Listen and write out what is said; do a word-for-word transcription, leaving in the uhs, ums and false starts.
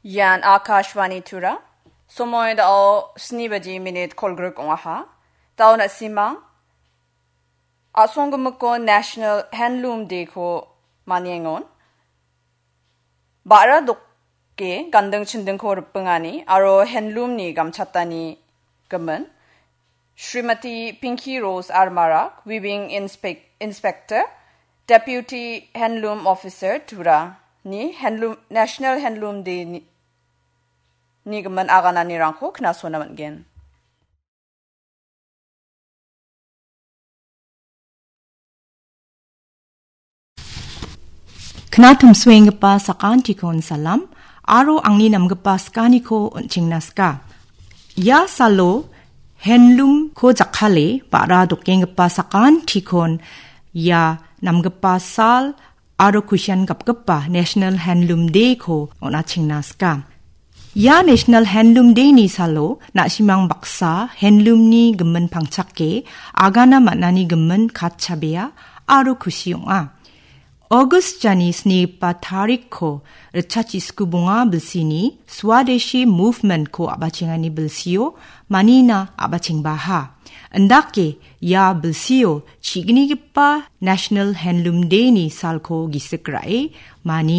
Ian Akashvani Tura. Somoy dao sni baji minit kolgruk ong·aha. Dao na·simang a·songgimiko National Handloom Day-ko maniengon. Ba·ra doke ganding chindingko ripengani aro handloom-ni gamchatani gimin. Srimati Pinky Rose Armarak, Weaving Inspec-, Inspector, Deputy Handloom Officer Tura ni handloom, National Handloom Day ni, ni gimin agananirangko knasona man·gen. Knatumsuenggipa sakantikon salam, aro angni namgipa skaniko on·chengna ska. Ia salo handloom-ko jakkale ba·ra dokenggipa sakantikon ia namgipa sal aro kusian gapgipa National Handloom Day-ko on·achengna ska. Ia National Handloom Day-ni salo na·simang baksa handloom-ni gimin pangchake agana man·ani gimin katchabea aro kusi ong·a. August jani snigipa tarikko ritchachisku bonga bilsini Swadeshi Movement-ko a·bachengani bilsio manina a·bachengbaha. Indake ia bilsio chignigipa National Handloom Day-ni salko gisik ra·e mani